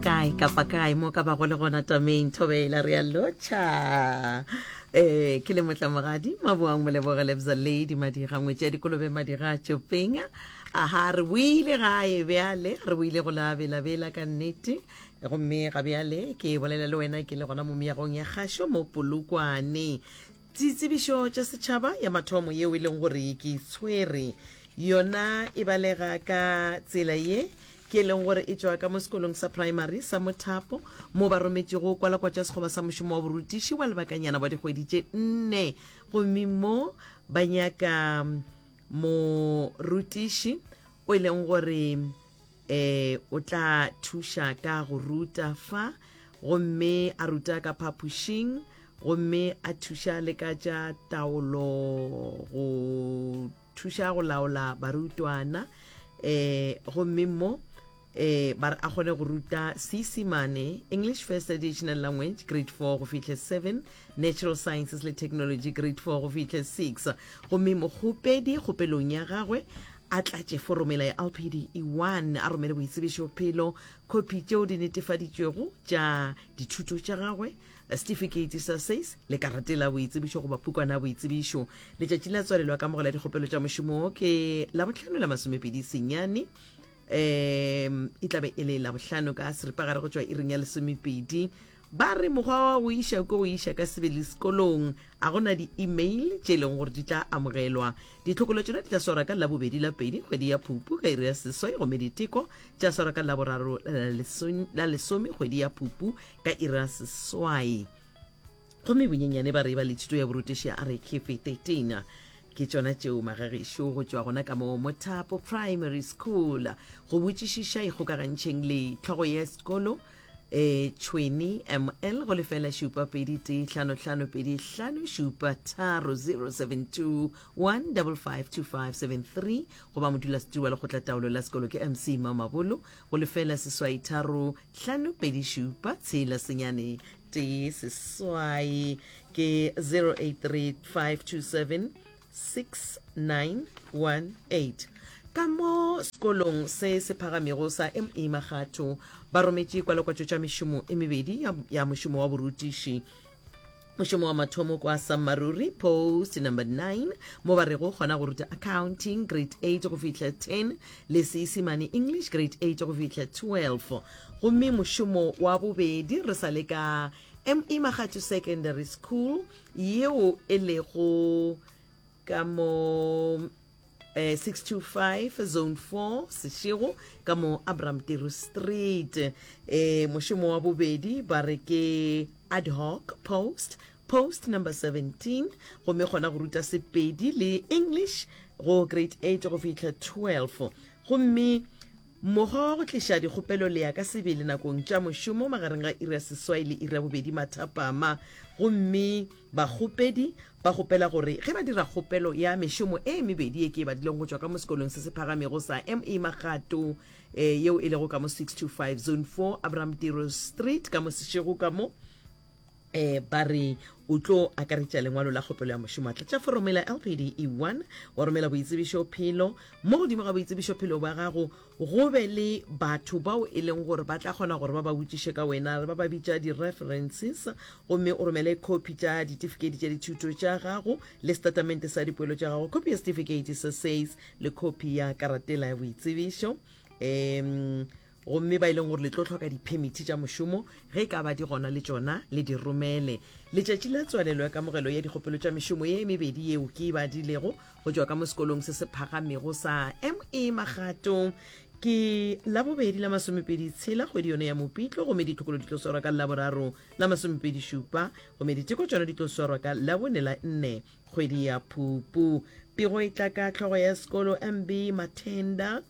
Kae kapa kae mo ka bago le gona tameng thobela re a lotšha eh ke le motlamogadi maboang moleboge lebza lady madiga ngwetši ya dikolobe madiga tšopeng aha re boile gae bjale re boile go la belabela ka nnete gomme ga bjale ke bolela le wena ke le gona mo meagong ya kgašo mo polokwane Ditsebišo tša setšhaba ya mathomo yeo e leng gore ke tshwere yona e balega ka tsela ye ke e leng gore e tšwa ka mo sekolong sa primary sa Mothapo mo ba rometšego kwalakwa tša sekgoba sa mošomo wa borutiši wa lebakanyana wa dikgwedi tše nne gomme mo ba nyaka morutiši o e leng gore E, o tla thuša ka go ruta fa, gomme a ruta ka phapošing, gomme a thuša le ka tša taolo, go thuša go laola barutwana. E, gomme mo e, ba re a kgone go ruta Seisemane, English First Additional Language, grade 4 go fihle 7, Natural Sciences le Technology, grade 4 go fihle 6. Gomme mokgopedi kgopelong ya gagwe a tlatše foromela ya LPD E1, a romele boitsebišophelo, khopi tšeo di netefaditšwego tša dithuto tša gagwe, setifikeiti sa SACE le karate la boitsebišo goba pukwana ya boitsebišo. Letšatši la tswalelo ya kamogelo ya dikgopelo tša mošomo wo ke Labohlano la masomepedi senyane, um e tlabe e le Labohlano ka seripagare go tšwa iring ya lesomepedi. Ba re mokgwa wa go iša ke go iša ka sebele sekolong. A go na di-email tše e leng gore di tla amogelwa. Ditlhokolo tšona di tla swarwa ka Labobedi la pedi kgwedi ya Phupu ka iri ya seswai gomme diteko tša swarwa ka Laboraro la lesome kgwedi ya Phupu ka iri ya seswai. Gomme bonyenyane ba re ba le thuto ya borutiši ya RKF 13. Ke tšona tšeo magagešo go tšwa gona ka mo Mothapo Primary School. Go botšišiša ikgokagantšheng le hlogo ya sekolo e tšhweni ml go lefela šupa pedi tee hlano hlano pedi hlano šupa tharo 072 1552573 goba modulasetiri wa lekgotlataolo la sekolo ke mc mamabolo go lefela seswai tharo hlano pedi šupa tshela senyane tee seswai ke 083 527 6918. Ka mo sekolong se se phagamego sa ME Makgatho ba rometše kwalakwatšo tša mešomo e mebedi ya, ya mošomo wa borutiši. Mošomo wa mathomo kwa Sammaruri post number 9 mo ba rego kgona go ruta accounting grade 8 go fihla 10 le Seisemane English grade 8 go fihla 12. Gomme mošomo wa bobedi re sa le ka ME Makgatho Secondary School yeo e lego ka mo eh, 625 zone 4 sešego ka mo abraham tiru street eh, mošomo wa bobedi ba re ke ad hoc post post number 17 gomme kgona go ruta sepedi le english go grade 8 go fihla 12 gomme Mokgwa wa go tliša dikgopelo le ya ka sebele nakong tša mošomo magareng ga iri ya seswai le iri ya bobedi mathapama, gomme bakgopedi ba kgopela gore ge ba dira kgopelo ya mešomo e mebedi ye ke e badileng go tšwa ka mo sekolong se se phagamego sa ME Magato eh, yeo e lego ka mo 625 Zone 4 Abraham Tiro Street ka mo Seshego ka mo eh, ba re o tlo akaretša lengwalo la kgopelo ya mošomo a tlatša foromo la LPD E1 wa romela boitsebišo phelo mo godimo ga boitsebišo phelo bja gago go be le batho bao e leng gore ba tla kgona gore ba ba botšiše ka wena ba ba bitša di-references gomme o romele copy tša ditifikeiti tša dithuto tša gago le setatamente sa dipoelo tša gago copy ya setifikeiti sa SACE le copy ya karatela ya boitsebišo um Gomme ba e leng gore le tlo hloka diphemithi tša mošomo, ge e ka ba di gona le tšona le di romele. Letšatši la tswalelo ya kamogelo ya dikgopelo tša mešomo ye mebedi yeo ke e badilego go tšwa ka mo sekolong se se phagamego sa ME Magato ke Labobedi la masomepedi tshela kgwedi yone ya Mopitlo gomme ditlhokolo di tlo swarwa ka Laboraro la masomepedi šupa gomme diteko tšona di tlo swarwa ka Labone la nne kgwedi ya Phupu. Pego e tla ka hlogo ya sekolo MB Mathenda.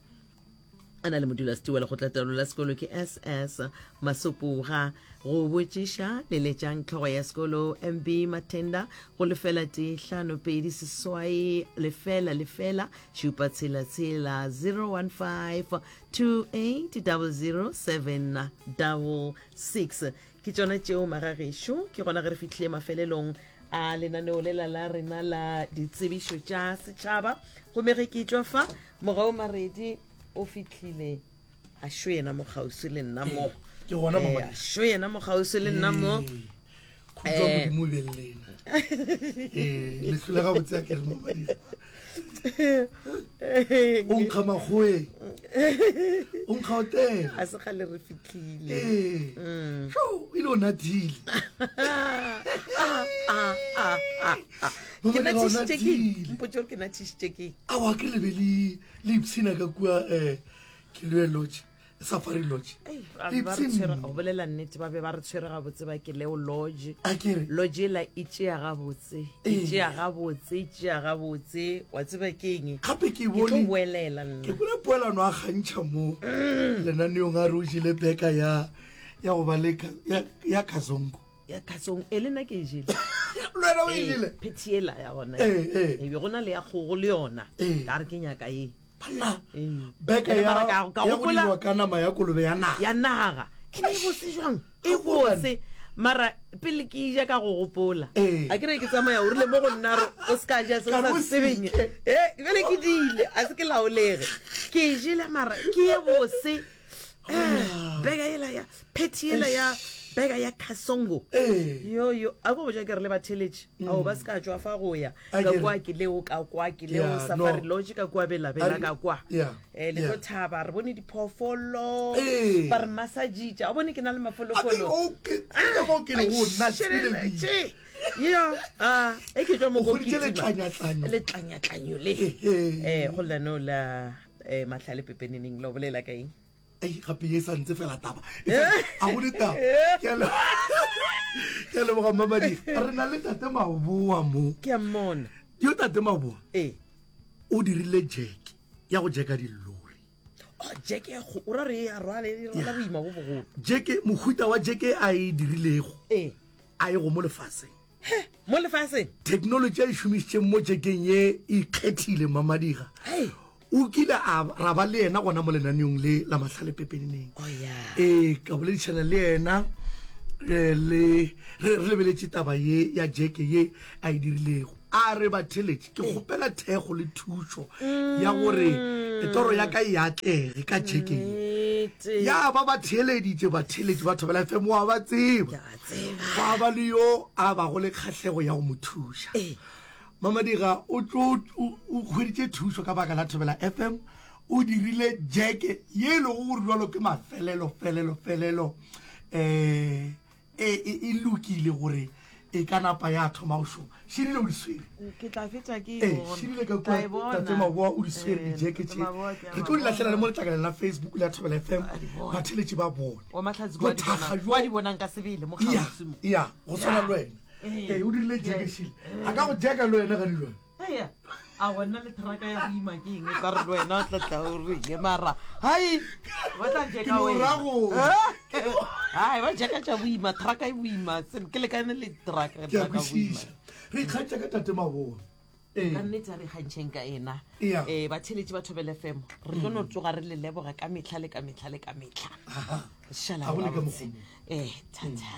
A na le modulasetiri wa lekgotlataolo la sekolo ke SS Masopoga. Go botšiša, leletšang hlogo ya sekolo MB Mathenda go lefela tee hlano pedi seswai lefela lefela šupa tshela tshela 015 2800 766. Ke tšona tšeo magagešo, ke gona ge re fihlile mafelelong a lenaneo lela la rena la ditsebišo tša setšhaba. Gomme ge ke tšwa fa, Mogau Maredi o fihlile. A šo yena mo kgauswi le nna mo. Ke gona Eh, mama. a šo yena mo kgauswi le nna mo. Ee. Khutšo Eh. modimo o be le lena. Ee, le hlole gabotse a ke re Mamadira. O nkga makgoeng. O nkga hotela. A se kgale re fitlhile. Ee. Mm. Sho, e le o nathile. Ah, ah, ah, ah, ah. Ke Mamadira, o nathišitše ke eng? nathile. Mpotše gore ke nathišitše ke eng? Aowa, ke le be le le ipshina ka kua um Kilwe Lodge, Safari Lodge. Ei, ba be ba re tshwere go bolela nnete ba be ba re tshwere gabotse ba ke leo lodge A ke re lodge ela e tšea gabotse e Ee. tšea gabotse e tšea gabotse wa tseba ke eng gape ke ke tlo bone boelela ke nna kwele poelano a kgantšha mo lenaneong a re o jele beka ya ya go ba le ka- ya- ya kazongo ya kasong e le nna ke e jele le wena o e Ee, jele phethi ela ya gona Ee, ee. e be go na le ya kgogo le yona Ee. ka re ke nyaka ye banna Ee. beka Ene ya mara ka- ka ya go gopola- dirwa ka nama ya kolobe ya naga ya naga e ne e bose jwang e Ga go bose mara pele ke ija ka go gopola Ee. a ke re ke tsamaya o rile mo go nna re o se ka ja se o Ka sa re o se tsebeng seke. e bjale ke dile a se ke laolege ke e jele mara ke ye bose Eh, beka ela ya pheti ela ya beka ya kasongo Ee. yo yo a ko boja ke re le batheletše ao ba se ka tšwa fa go ya A ka ke re. kwa ke leo ka kwa ke leo Yeah, safari no. lodge ka kwa belabela A re- ka kwa Yeah, um le tlo yeah. thaba re bone diphoofolo Ee. ba re massagitša o bone ke na le A ke- mafolofolo o ke- ke mo ke le go nathile Tše, yo a e ke tšwa mo O go hweditše kitima. letlanyatlanyo. letlanyatlanyo le Ehe. um go lenaneo la um mahlale pepeneneng la o bolela ka eng Ei, gape ye sa ntse fela taba E sa- a go ditaba Ke a le- ke a leboga mamadi re na le tate maboa mo ke a mmona yo tate maboa ee o dirile jack ya go jacka dilori oh jack ya go o ra re e a rwale e rwala boima bo bogolo jack mohuta wa jack a e dirilego ee a e go mo lefaseng mo lefaseng technology a e šomišitšeng mo jekeng ye e ikgethile mamadiga o kile a ra ba le yena gona mo lenaneong le la mahlale pepeneneng oh, yeah. ee ka boledišana le yena eh, le re re lebeletše taba ye ya jeke ye a e dirilego a re batheletše ke kgopela thekgo le thušo ya gore toro ya ka e atlege ka jeke ye Nnete. ya ba ba theeleditše batheeletši ba thobela fm wa ba tseba Ke a tseba. gwa ba le yo a bago le kgahlego ya go mo thuša Ee. Mamadiga o tlo o o hweditše thušo ka baka la Thobela FM o dirile jeke ye e lego gore jalo ke mafelelo felelo felelo um e, e, e lokile gore e ka napa ya thoma go šoma širile o di swere ke tla fetša ke e ee bona. širile ka Ke tla e kua bona. tate maboa o di swere Eh, dijeke Tate tše Maboa ke a re tlo di ba lahlela le bona. mo letlakaleng la facebook le ya thobela fm Ba di bona. batheletši ba bone wa mahlatsi kwa di Bothakga bonang- bjo- kwa di bonang ka sebele mo ya kgauswi mo ya go tshwana le wena Ee. ee o dirile jeke šile a ka go jeka le wena gane jale Eya, a gona le traka ya go ima ke eng e tla re le wena o tla tla o reng mara hai ba tla Ke jeka no wena ra go- hai ba jeka tša boima traka e boima Se- ke lekane le traka ke a traka boima kwešiša re ikgantšha ka tate maboa ee ka nnete a re kgantšheng ka ena Ea. um batheletši ba thobele fm re tlo no tsoga re le leboga ka metlha le ka metlha le ka metlha Aha. šala Ga go le ka gabotse mokgwa ee thata.